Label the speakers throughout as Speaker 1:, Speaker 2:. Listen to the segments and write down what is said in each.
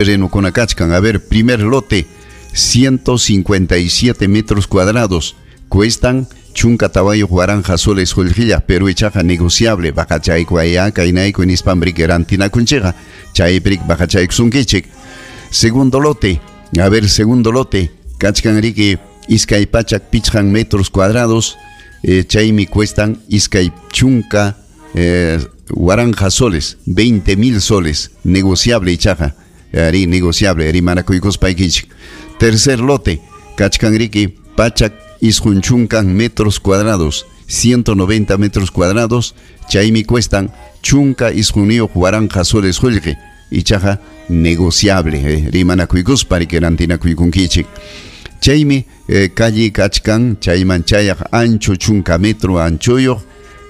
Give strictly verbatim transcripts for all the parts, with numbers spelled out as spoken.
Speaker 1: Terrenokuna kachkan. A ver, primer lote, ciento cincuenta y siete metros cuadrados, cuestan chunka tawayuq waranqa soles qullqilla, pero ichaqa negociable, baqachayku aya kaynayku nispan riki rantinakunchikqa, chaypi riki baqachaykusunkichik. Segundo lote, a ver, segundo lote, kachkan riki iskay pachak pichqan metros cuadrados, eh, chaymi cuestan iskay chunka, eh, waranqa soles, veinte mil soles, negociable ichaqa, ari negociable, rimanakuykuspaykichik. Tercer lote, kachkan riki pachak isqun chunkan metros cuadrados, ciento noventa metros cuadrados, chaymi cuestan chunka isquniyuq waranqa soles qullqi, ichaqa negociable, eh, rimanakuykuspa riki rantinakuykunkichik. Chaymi, eh, calle kachkan, chayman chayaq ancho chunka metro anchoyuq,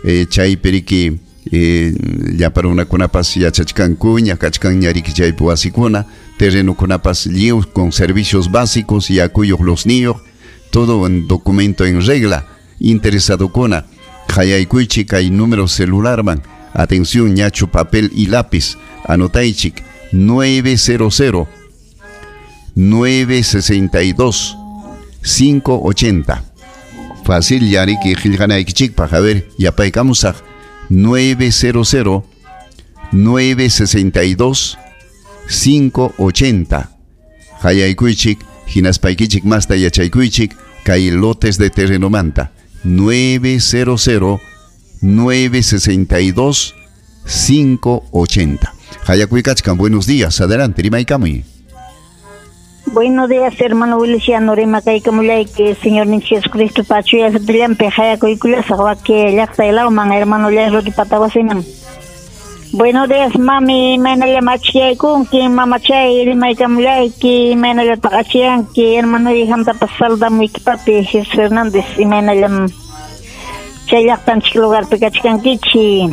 Speaker 1: eh, chaypi riki, eh, llapa runakunapas yachachkankuña, kachkanña riki chaypi wasikuna, terrenokunapas lliw con servicios básicos, yakuyuq losniyuq, todo en documento en regla. Interesadokuna, qayaykuychik kay número celularman, atención ñachu papel y lápiz, anotaychik, nueve cero cero, nueve sesenta y dos, cinco ochenta. Fácil yariki qillqanaykichikpaq, a ver, yapaykamusaq, nueve cero cero, nueve sesenta y dos, cinco ochenta. Qayaykuychik, hinaspaykichik masta yachaykuychik, kay lotes de terreno manta, nueve cero cero, nueve sesenta y dos, cinco ochenta. Hayakuykachkan, buenos días, adelante, rimaykamuy.
Speaker 2: Buenos días, hermano Wiliciano, rimakaykamullayki, Señor Jesucristo, pachuya satillampi, hayakuykullasa, waki llaqta ilawman, hermano Llayroti patawasiman. Buenos días, mami, imaynalla machiyaykunki, mamachay, rimaykamullayki, imaynalla taqachiyanki, hermano hijantapas saludamuyki, papi Jesús Hernández, imaynallam chay llaqtanchik lugarpi kachkankichi.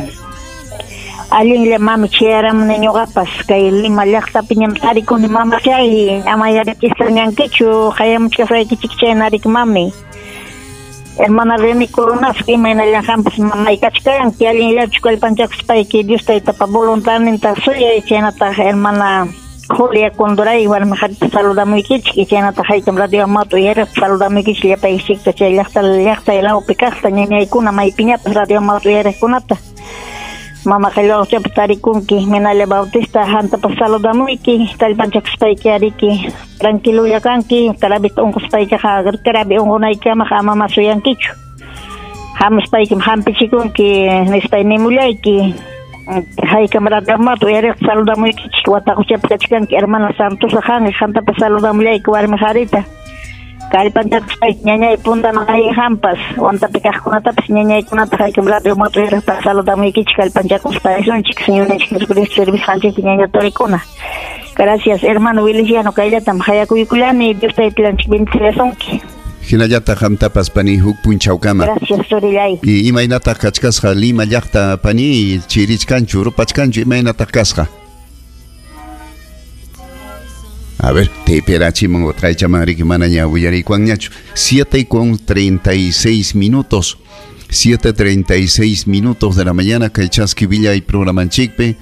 Speaker 2: Allinlla mami chayaramuni ñuqapas kay Lima llaqtapiñam tarikuni mamachay, ama yarichistañankichu, hayamuchkasaykichik chaynarik mami. Hermana Reni Coronas, imaynallan qampas mamay kachkanki, allinllachu kallpanchakuspayki Dios taytapa voluntadninta suyay, chaynataq hermana Julia Condoray warmi qharita saludamuykichik, chaynataq haykam radio Amauta uyariqta saludamuykichik llapaykichikta chay llaqta llaqta lawpi kaqta ñañaykuna maypiñapas radio Amauta uyariqkunata. Mama qillqachapi tarikunki, Minalla Bautista, hantapas saludamuyki, kallpanchakuspayki ariki, tranquilolla kanki, karabita unquspaykiqa, karabi unqunaykamaqa ama masuyankichu. Hamuspaykim hampichikunki, nispay nimullayki. Haykam radio Amauta uyariqta saludamuykichik, wataquchapi kachkanki, hermana Santosa hanqa, hantapas saludamullayki warmi qharita. Kallpanchakuspayki ñañay puntaman ayqampas, wantapi kaqkunatapas ñañaykunata haykam radio Amauta uyariqta saludamuykichik, kallpanchakuspa risunchik, Señorninchik Jesucristo servisqanchikpi ñaña torikuna. Gracias, hermano Wiliciano, kayllatam hayakuykullani, Dios taytillanchik bendecillasunki.
Speaker 1: Hinallataq qamtapas pani huk punchawkama.
Speaker 2: Gracias, turillay.
Speaker 1: Y imaynataq kachkasqa Lima llaqta pani, chirichkanchu, rupachkanchu, imaynataq kasqa? A ver, te perachiman o traichaman riki manaña willarikuanñachu. Siete con treinta y seis minutos. Siete treinta y seis minutos de la mañana, kay Chaski Villa y programanchikpe.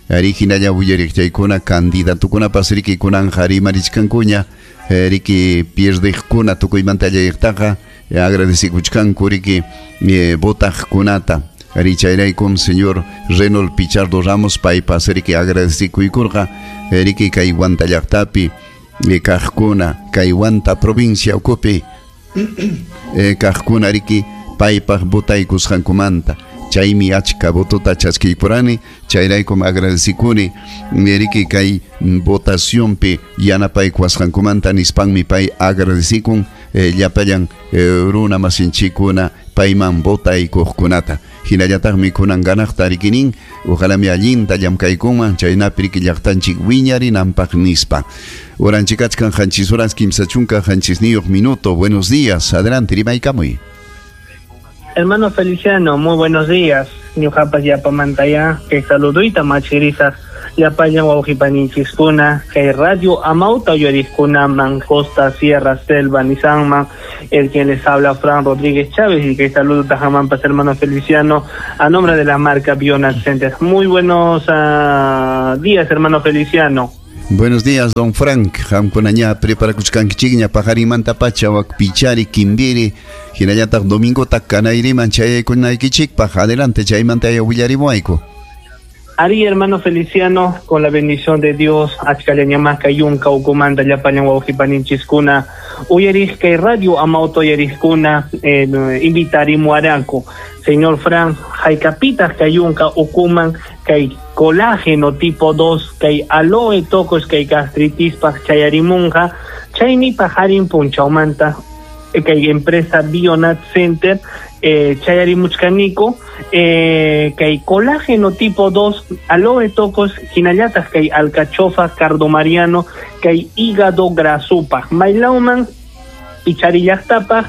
Speaker 1: Arihinalla willariqchaykuna, candidatukuna pasriki kunan harimarichkankuña, riki pierdejkuna tukuymanta allayqtaqa, agradecikuchkanku riki, eh, votaqkunata. Arichayraykum señor Renold Pichardo Ramos paypas riki agradecikuykurqa, riki kay Huanta llaqtapi, eh, kaqkuna, kay Huanta provincia ukupi, eh, kaqkuna riki paypaq votaykusqankumanta. Chaymi achka votota chaskiykurani, chayraykum agradecikuni, riki kay votacionpi yanapaykuwasqankumanta nispanmi pay agradecikun, eh, llapallan, eh, runa masinchikuna payman votaykuqkunata. Hinallataqmi kunan ganaqta rikinin, ojalami allinta llamkaykunman, chaynapi riki llaqtanchik wiñarinanpaq nispa. Oranchikachkan qanchis horas kimsa chunka qanchisniyuq minuto. Buenos días, adelante, rimaykamuy.
Speaker 3: Hermano Feliciano, muy buenos días. Ñuqapas yapamantaya, que saluduyta machirisaq llapallan wawqipaninchiskuna, kay Radio Amauta uyariqkuna, Mancosta, Sierra, Selva, Nisanman, el quien les habla Fran Rodríguez Chávez, y que saludo tajamampas hermano Feliciano, a nombre de la marca Bionat Center. Muy buenos, uh, días, hermano Feliciano.
Speaker 1: Buenos días, don Frank. Qamkunaña preparakuchkankichikña paqarinmanta pacha wak Pichari, Kimbiri, hinallataq domingota Canayriman chayaykunaykichikpaq. Adelante, chaymanta willarimuayku.
Speaker 3: Ari, hermano Feliciano, con la bendición de Dios, achkallañamaka yunka ukumanta llapallan wawqipaninchiskuna, uyariq kay radio Amauta uyariqkuna, eh, invitarimuaranku. Señor Frank, haykapitaq kay yunka ukuman kay colágeno tipo dos, kay aloe tocos kay gastritispaq chayarimunqa, chaymi paqarin punchawmanta kay empresa Bionat Center, eh, chayarimuchkaniko, eh, kay colágeno tipo dos, aloe tocos, hinallataq kay alcachofa, cardomariano, kay hígado grasupaq, maylawman picharillaqtapaq,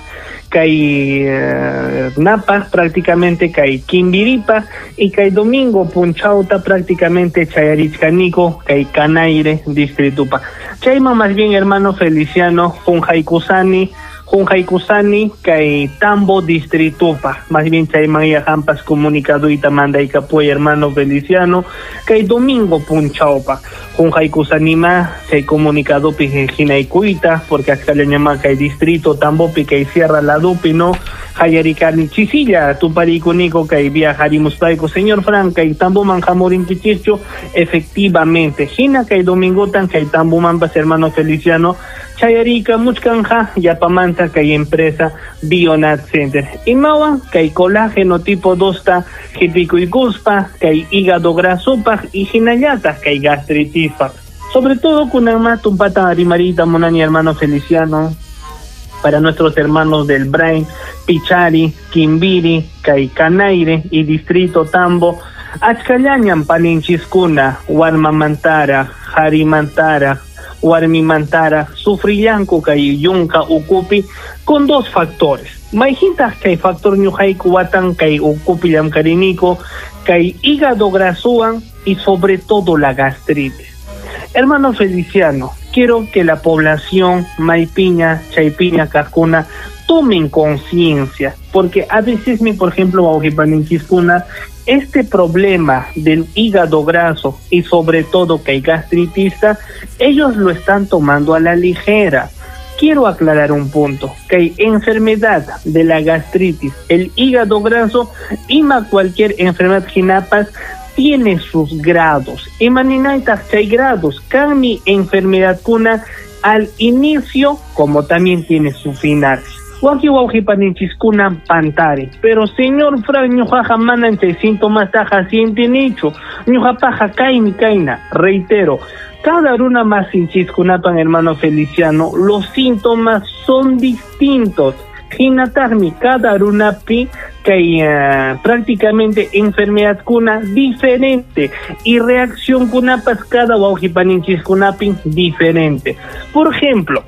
Speaker 3: kay eh, napaq prácticamente, kay kimbiripaq, y kay domingo punchawta prácticamente chayarichkaniko, kay Canaire distritupa. Chayman más bien, hermano Feliciano, junjaykusani, junjaykusani kay Tambo distritupa, más bien chayman yaqampas comunicaduyta mandaykapuy, hermano Feliciano, kay domingo punchawpa, junjaykusanima chay comunicadopi hinaykuyta, porque achkallañama kay distrito Tambopi kay Sierra Ladupi, no hayarikani chisilla tuparikuniko kay viajarimuspayku, señor Frank, kay Tamboman hamurinkichikchu, efectivamente, hina kay domingotan kay Tambomanpas, hermano Feliciano, chayarika muchkanja yapamanta kay empresa Bionat Center. Imawan kay colágeno tipo dos ta hipikuykuspa, kay hígado grasopaj y hinallataq kay gastritispaj. Sobre todo kunanma tumpata rimarita munani, hermano Feliciano, para nuestros hermanos del Brain, Pichari, Kimbiri, kay Canaire y Distrito Tambo, achkallañan paninchiskuna, warmamantara, harimantara, warmimantara, sufrillanku kay yunka ukupi con dos factores. Mayhintaq kay factor ñuqayku watan kay ukupi llamkariniko, kay hígado grasuan y sobre todo la gastritis. Hermano Feliciano, quiero que la población maypiña, chaypiña, kaqkuna tomen conciencia, porque a veces, mi, por ejemplo, wawqipaninchiskuna, este problema del hígado graso y sobre todo que hay gastritista, ellos lo están tomando a la ligera. Quiero aclarar un punto, que hay enfermedad de la gastritis, el hígado graso, ima cualquier enfermedad jinapas, tiene sus grados. Imaninaytaq chay grados, kanmi enfermedad kuna al inicio, como también tiene su final. Waki wawqipaninchiskuna pantare, pero señor Frank, ñuqaqa manan chay síntomas taqa sientinichu, ñuqapaqa kaymi kayna. Reitero, cada runa masinchiskunapan, hermano Feliciano, los síntomas son distintos. Hinataqmi cada runapi kay uh, prácticamente enfermedad kuna diferente y reacción kunapas cada wawqipaninchis diferente. Por ejemplo,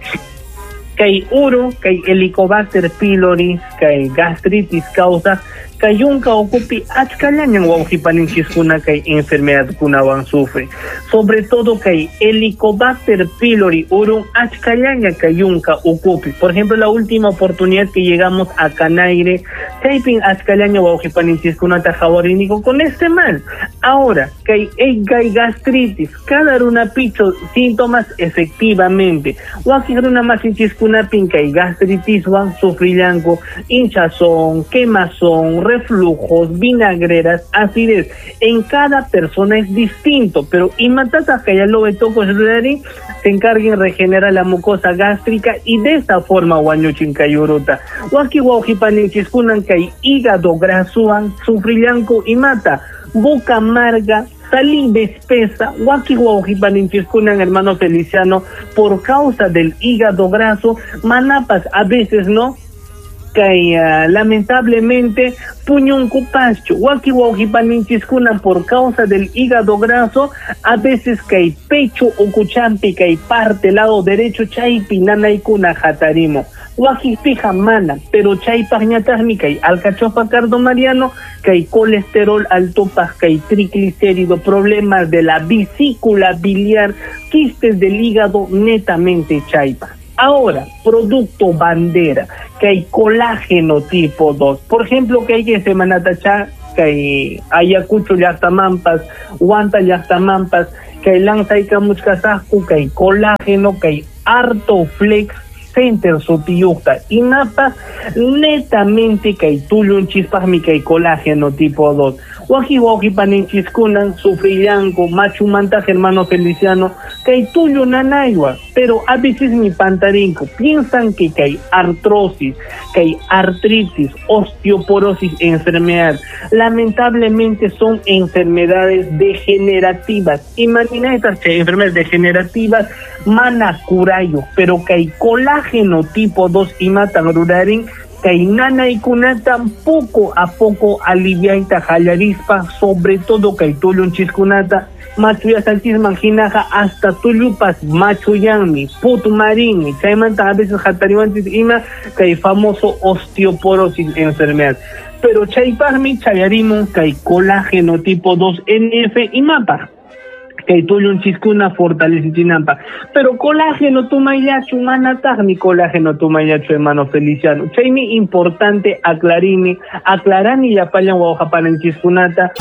Speaker 3: kay uro, kay Helicobacter pylori, kay gastritis causa, kay yunka ukupi achkallañan wawqipaninchiskuna kay enfermedad kunawan sufre. Sobre todo kay Helicobacter pylori uru achkallaña kay yunka ukupi. Por ejemplo, la última oportunidad que llegamos a Canaire, chaypin achkallaña wawqipaninchikkunata hawariniko con este mal. Ahora, kay kay gastritis, cada runa picho síntomas efectivamente. Wakin runa masinchiskunapin kay gastritiswan sufrillanku hinchazón, quemazón, reflujos, vinagreras, acidez. En cada persona es distinto, pero imatata que ya lo toco se encarguen regenerar la mucosa gástrica y de esta forma wañuchin kayuruta. Waki wawqipaninchikkunan kay hígado grasuan sufrillanku imata, boca amarga, saliva espesa, waki wawqipaninchikkunan, hermano Feliciano, por causa del hígado graso, manapas a veces no, kay uh, lamentablemente puñunkupaschu, waki wawqipaninchiskuna por causa del hígado graso, a veces kay pecho ukuchampi kay parte lado derecho chaypi nanaykuna hatarimo. Wakipija mana, pero chaypaq ñataqmi kay alcachofa cardomariano, kay colesterol altopaq, kay triglicérido, problemas de la vesícula biliar, quistes del hígado netamente chaypaq. Ahora, producto bandera, que hay colágeno tipo dos. Por ejemplo, que hay que semana tacha, que hay Ayacucho llaqtamampas, Huanta llaqtamampas, Kay lanzaykamuchkasaqku kay colágeno, kay Artoflex Center sutiyuqta, imapaq netamente kay tullunchispaqmi kay colágeno tipo dos. Waki wawqi paninchiskuna sufrillanku machumanta, hermano Feliciano, kay tullu nanaywan, pero a veces mi pantarinku, piensan que kay artrosis, kay artritis, osteoporosis, enfermedad. Lamentablemente son enfermedades degenerativas. Imagina estas enfermedades degenerativas mana kurayo, pero kay colágeno tipo dos imatan rurarin kay nanaykunata poco a poco aliviayta qallarispa, sobre todo kay tullunchiskunata machuyasanchisman hinaqa hasta tullupas machuyanmi, putumarinmi, chaymanta a veces hatariwanchis ima kay famoso osteoporosis enfermedad. Pero chaypaqmi chayarimun kay colágeno tipo dos N F imapaq kay tullunchiskuna fortalecichinanpaq. Pero colágeno tumayllachu, manataqmi colágeno tumayllachu, hermano Feliciano. Chaymi importante aclarini, aclarani llapallan wawqapananchiskunata.